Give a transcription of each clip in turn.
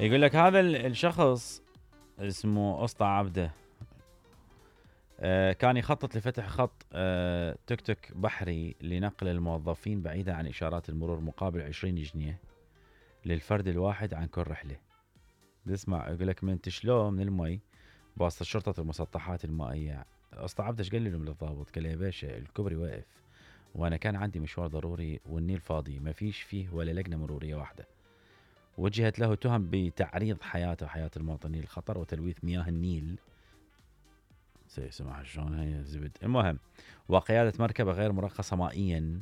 يقول لك هذا الشخص اسمه اسطى عبده كان يخطط لفتح خط توك توك بحري لنقل الموظفين بعيدا عن إشارات المرور مقابل 20 جنيه للفرد الواحد عن كل رحلة. اسمع يقول لك من تشلوه من المي بواسطة شرطة المسطحات المائية. اسطى عبده ايش قال لهم للضابط؟ قال له يا باشا الكوبري واقف وانا كان عندي مشوار ضروري والنيل فاضي ما فيش فيه ولا لجنة مرورية واحدة. وجهت له تهم بتعريض حياته وحياة المواطنين للخطر وتلويث مياه النيل. سمح شلون هي زبد. المهم وقيادة مركبة غير مرخصة مائيا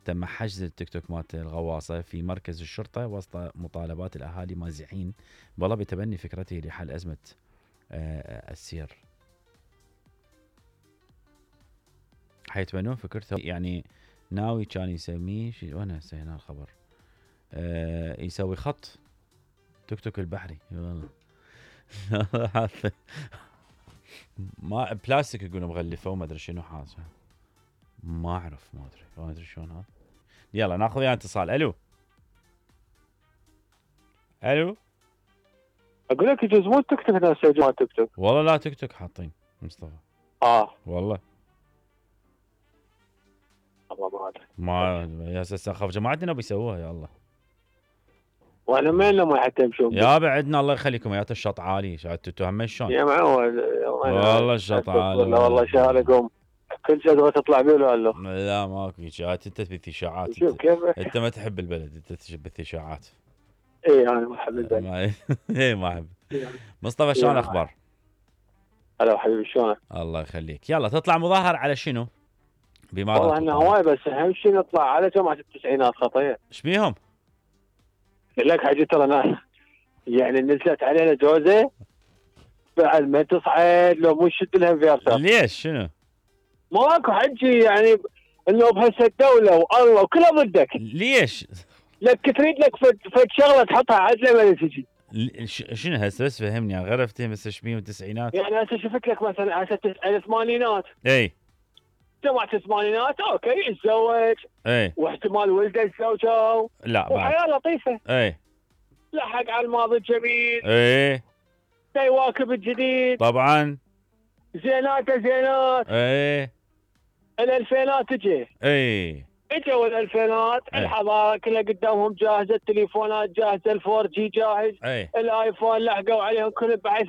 تم حجز التيك توك مالت الغواصة في مركز الشرطة وسط مطالبات الأهالي مازحين والله بتبني فكرته لحل أزمة السير. حيتبنون فكرته يعني ناوي كان يسميه وانا هسه هنا الخبر يسوي خط توك توك البحري. ما بلاستيك يقولوا مغلفه وما ادري شنو حاجه ما اعرف ما ادري شلون هذا. يلا ناخذ وياه اتصال. الو اقول لك يجوز مو توك توك ناس يسوون توك توك. والله لا توك توك حاطين مصطفى. والله ما ادري ما يا اساس اخاف جماعتنا بيسووها يا الله. وانا ما لنا حتى يمشون يا بعدنا الله يخليكم يا الشط عالي شاتوا هم شلون يا معود والله الشط عالي والله شارقهم كل شغله تطلع بيه ولا لا ماكو اشاعات. انت تبث اشاعات شوف كيف انت ما تحب البلد انت تبث اشاعات. اي انا ما احب البلد. اي ما احب. مصطفى شلون الاخبار؟ هلا حبيبي شلونك؟ الله يخليك. يلا تطلع مظاهر على شنو؟ بماذا؟ والله انه هواي بس اهم شيء نطلع على جماعه التسعينات خطيه. ايش بيهم؟ لك حاجه ترى ناس يعني نزلت علينا جوزه بعد ما تصعد لو مو شد لها انفيرتر. ليش شنو؟ ماكو حجي يعني انه بهسه الدوله والله وكلها ضدك. ليش؟ لك تريد لك فد شغله تحطها عدله ما تجي. شنو هسه بس فهمني غير افتهم هسه ايش بيهم التسعينات؟ يعني هسه شفت لك مثلا هسه الثمانينات. اي جماعة الثمانينات اوكي يتزوج اي واحتمال ولده يتزوجوا لا بعد وحياة لطيفة. اي لحق على الماضي الجميل. اي يواكب الجديد. طبعا زينات اي الالفينات تجي. اجوا الالفينات الحضاره كلها قدامهم جاهزه التليفونات جاهزه الفور جي جاهز الايفون لحقوا عليهم كل بحيث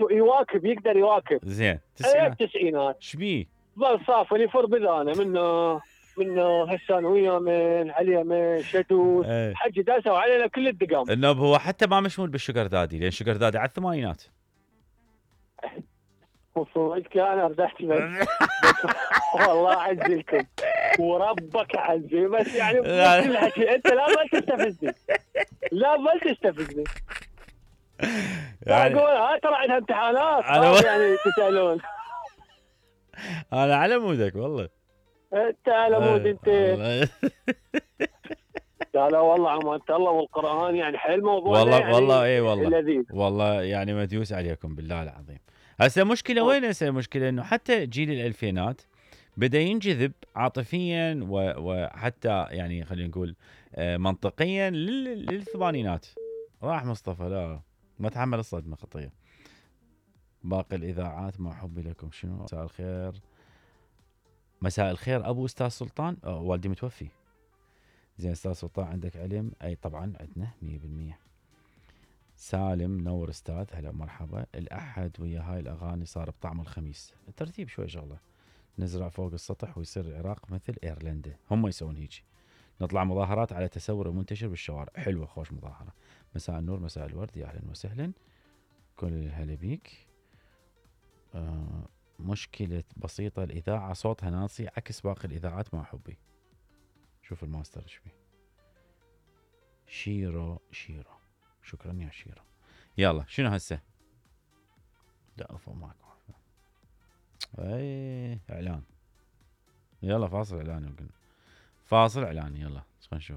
يقدر يواكب. زين التسعينات شبيه ظل صافن يفر بذانه منه هسان ويا من عليه من شدود حج داسوا علينا كل الدقام. انه هو حتى ما مشمول بالشجر دادي لان شجر دادي على الثمانينات. وصدق انا ارتحت والله اعزلكم وربك اعزل بس يعني كل حكي انت لا بل تستفزني لا بل تستفزني يعني اقول ترى عندها امتحانات يعني تسالون. انا على مودك والله انت على مود انت. لا والله عمانة الله والقرآن يعني حيل موضوع والله يعني والله اي والله لذيذ. والله يعني مديوس عليكم بالله العظيم. هسه مشكلة وين هسه المشكلة انه حتى جيل الالفينات بدا ينجذب عاطفيا وحتى يعني خلينا نقول منطقيا للثمانينات. راح مصطفى لا ما تحمل الصدمة خطية. باقي الاذاعات مع حبي لكم شنو. مساء الخير مساء الخير ابو استاذ سلطان. والدي متوفي. زين استاذ سلطان عندك علم؟ اي طبعا عندنا 100%. سالم نور استاذ هلا مرحبا. الاحد ويا هاي الاغاني صار بطعم الخميس. الترتيب شوي شغله. نزرع فوق السطح ويصير العراق مثل ايرلندا. هم يسوون هيك. نطلع مظاهرات على تسور منتشر بالشوارع. حلوه خوش مظاهره. مساء النور مساء الورد يا اهلا وسهلا. كل الهلا بيك. مشكله بسيطه الاذاعه صوتها ناصي عكس باقي الاذاعات مع حبي. شوف الماستر ايش بيه. شيرو شكرا يا شيرو. يلا شنو هسه؟ لا افو ماكو. اي اعلان. يلا فاصل اعلان يمكن. فاصل اعلان يلا نشوف.